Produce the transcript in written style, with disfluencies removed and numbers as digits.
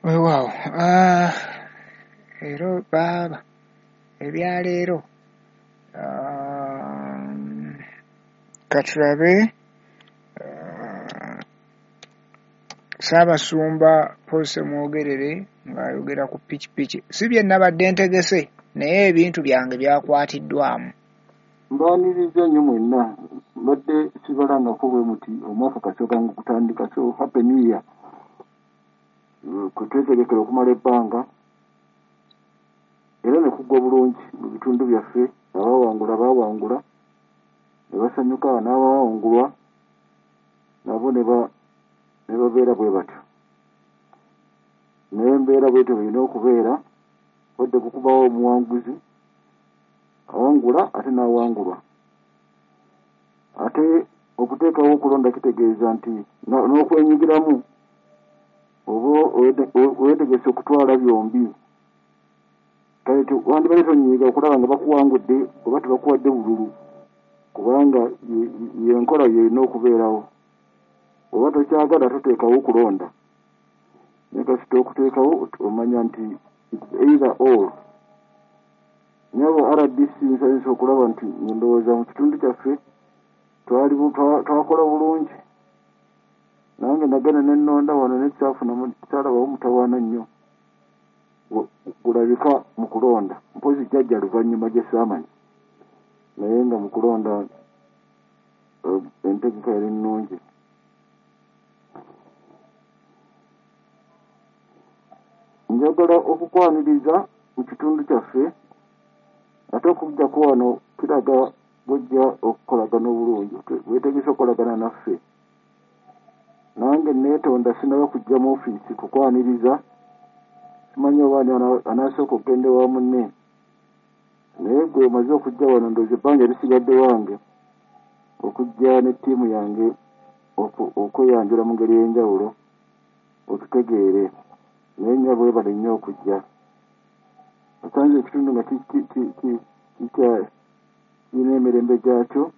Weewaawo, leero baaba ebyaleero, katulabe Ssaabasumba Paul Ssemwogerere ng'ayogera ku pikipiki. Si bye nabadde ntegese naye ebintu byange byakwatiddwamu. Mbaaniriza nnyo mwenna. Mbadde sibalangako bwe muti omwaka kasooka gutandika, so happy new year. Kwe twetegekera okumala ebbanga era ne kuggwa bulungi mu bitundu byaffe. Abaawangula baawangula ne basanyuka, n'abaawangulwa nabo ne babeera bwe batyo. Naye embeera bwetyo bw'erina okubeera, wadde kukubawo omuwanguzi awangula ate n'awangulwa. Ate okuteekawo okulonda kitegeeza nti n'okwenyigiramu oba weetegese okutwala byombi. Kale wandibadde tonyiiga okulaba nga bakuwangudde oba tebakuwadde bululu, kubanga y'enkola y'erina okubeerawo. Oba tokyagala toteekawo okulonda, naye kasita okuteekawo omanya nti it's either or. Nyabo RDC nsanyusa okulaba nti ndowooza mu kitundu kyaffe twakola bulungi. Nange nagenda ne nnonda wano ne saalabawo mutawaana nnyo gulabika mu kulonda, mpozi jjajja luvannyuma gye saamanya, naye nga mu kulonda entegeka yali nnungi. Njagala okukwaniriza mu kitundu kyaffe, ate okujjako wano kiraga bw'ojja okukolagana obulungi, weetegese okukolagana naffe. Nange neetonda sinnaba kujja mu ofiisi kukwaniriza, simanyi oba ani anaasooka okugenda ewa munne, naye gwe omaze okujja wano ndowooza ebbanga erisigadde wange okujja ne ttiimu yange okweyanjula mu ngeri ey'enjawulo otutegeere. Naye nnyabo weebale nnyo okujja. Osanze ekitundu nga kirina emirembe gyakyo,